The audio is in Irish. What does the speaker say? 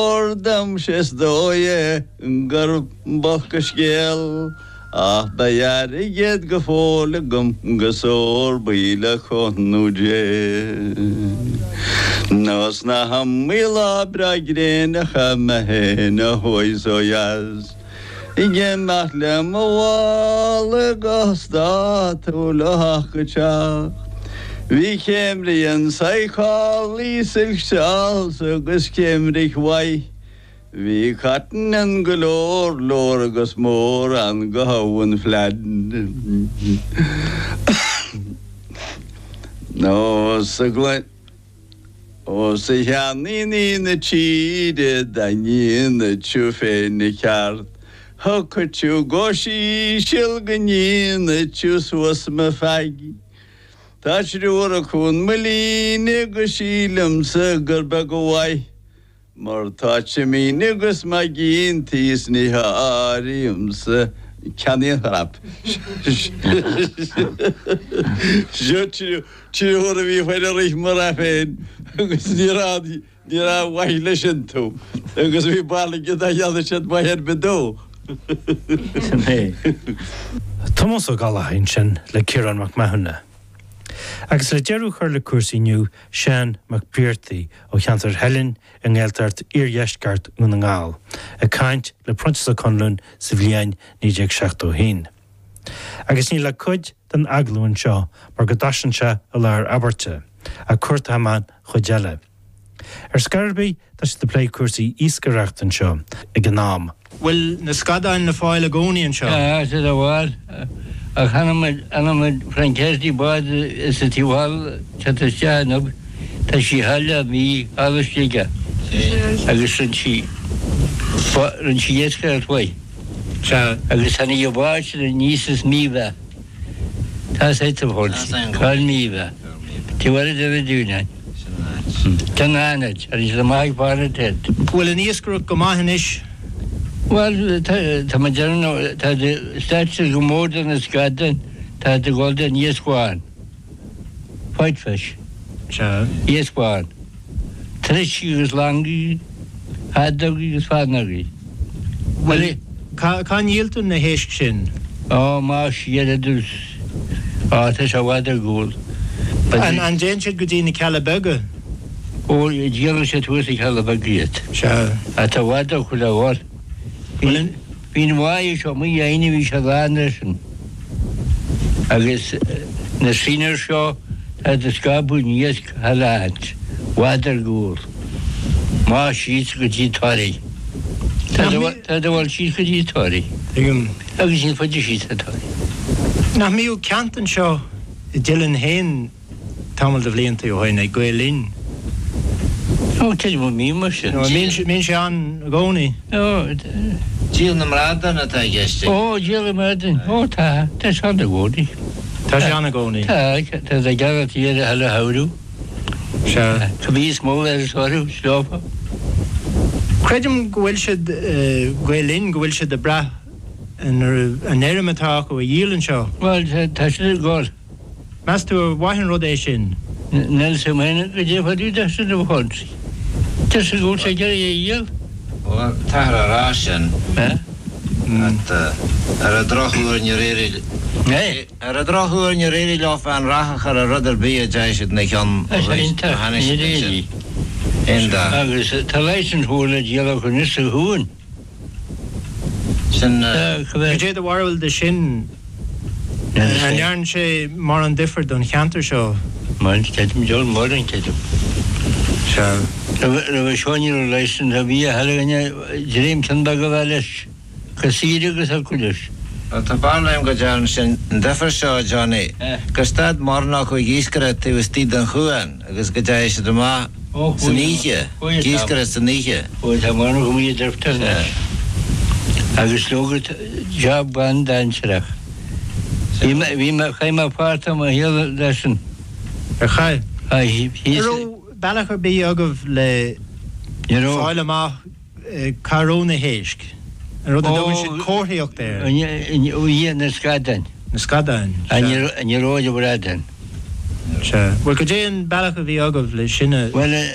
Mór domsa is dóigh é gur b'olc an scéal, ach beidh airgead go fóill agam 'gus ór buí le cúnamh Dé. Nó 's nach iomaí lá breá gréine a chaith mé féin ó thuaidh 's ó dheas, ag imeacht le mo mhála go státúil ó theach go teach. Bhí céimrigh anso ag codlaí silk shawls agus céimrigh mhaith. Bhí cotton ann go leor leor agus mór ann go habhainn Flead. Nó sa gcluin. Ó 's a sheandaoine na tíre dá ndéanadh tú féin a cheart, thiocfadh tú go híseal go ndéanadh tú suas mo pheig. Tá triúr acu in mo líne agus sílimse gur beag an mhaith Mar tá siad mín agus maigínte is ní háirímse ceann aon chrap. Seo triúr a bhí faoi rith mo rath féin agus ní raibh ní raibh mhaith leis iontu agus bhí bail aige dá dhéanadh siad maith ar bith dó. Sin é. Tomás Ó Gallchóir ansin le Ciarán Mac Mathúna. Agus le deireadh a chur le cúrsaí inniu, Seán Mac Briartaigh ó cheantar Theilinn i nGaeltacht Iardheisceart Dhún na nGall, ag caint le Proinsias Ó Conluain sa bhliain 1971. Agus níl ach cuid den agallamh anseo mar go dtosaíonn sé i lár abairte, ach cuartóidh mé an chuid eile. Ar scor ar bith, tá siad ag plé cúrsaí iascaireachta anseo ag an am. Bhfuil na scadáin le fáil i gcónaí anseo? Tá siad ar fáil, ach chonaic muid Franchetti bád is a taobh thall teacht isteach inniu, tá sí thall a mí thall istigh agus rinne sí rinne sí iascaireacht mhaith. Agus tháinig an bád sin aníos as Míobha. Tá sé sa bhord. Cáil Míobha. Taobh eile de na Dúnáin. Tá na hAnaid, agus siad amach ag fáil an ted. Bhfuil an iascaireacht go maith anois? Bhuel, tá mé ag déanamh, tá stáitse go mór de na scadáin, tá ag dul den iasc bhán. White fish. Sea. Iasc bán. Troisc agus langaí, haddogaí agus feadánógaí. Bhuel, cá, cá ndíoltar na héisc sin? Ó, más siar i dtús. Á, tá sé i bhfad ar gcúl. An, an dtéann siad go dtí na Cealla Beaga? Ó, díolann siad thuas sna Cealla Beaga iad. Sea. Á, tá i bhfad ó chuile bhord. Bhuel, an. Bhí an bháigh seo amuigh aoine bhí sé lán leis an agus na seinear seo tá ag scaipeadh an iasc thar áit bhfad ar gcúl. Má síos go dtí Toraigh. Tá ag dul síos go dtí Toraigh. Tuigim. Agus níos faide síos ná Toraigh. Nach mbíodh ceant anseo i dTeileann féin tamall de bhlianta ó shin ag Gael Linn. Ó, creidim go mbíonn mar sin. Nó an mbíonn sé ann i gcónaí? Ó, Díol na mbradán atá i gceist ag. Ó, díol na mbradán. Ó, tá. Tá sé ann i gcónaí. Tá sé ann i gcónaí. Tá. Tá sé gearr tíre eile a shamhrú. Sea. Tá níos mó ar is orthu, sleofa. Creidim go bhfuil siad, Gael Linn, go bhfuil siad ag brath an fheirm atá acu a dhíol anseo. Bhuel, tá siad ag gol. Meas tú ar mhaith an rud é sin? Níl 's agam féin goidé fá dtaobh de sin a Phonsie. Deir sé go bhfuil sé ag iarraidh é a dhíol. Bhuel, táthar á rá sin. Ar an drochuair níor éirigh Ar an drochuair níor éirigh leofa aon rath a chur ar rud ar bith a dteachaigh siad ina cheann ó tháinig siad ansin. Aon dath. Agus tá licence mhór le díol acu anois sa chuan. Sin. Cad é do bharúil de sin? An ndearna sé mórán difir don cheantar seo? Bhuel, creidim, deor mórán, creidim. Sea. Roimhe seo ní raibh licence ar bith a thuilleadh againne, dream ceann beag a bheith leis, chomh saor agus a thiocfadh leis. Bhuel, tá barúil agam go dtearn sé an difear seo, Johnny, gur stad mórán acu ag iascaireacht taobh istigh den chuan. Agus go dteachaigh siad amach san oíche, ag iascaireacht san oíche. Ó tá mórán acu amuigh i dtuirtear anois. Agus leoga job an-dainséarach. Bhí mé, bhí mé, chaith mé páirt de mo shaol leis sin. Ar chaith? Chaith. An raibh bealach ar bith agaibh le fáil amach Cá raibh na héisc? An rud a dtugann siad comharthaíocht air. Ó, na scadáin. Na scadáin, sea. Ní raibh ar bhradáin. Sea. Bhuel, goidé an bealach a bhí agaibh le sin a. Bhuel.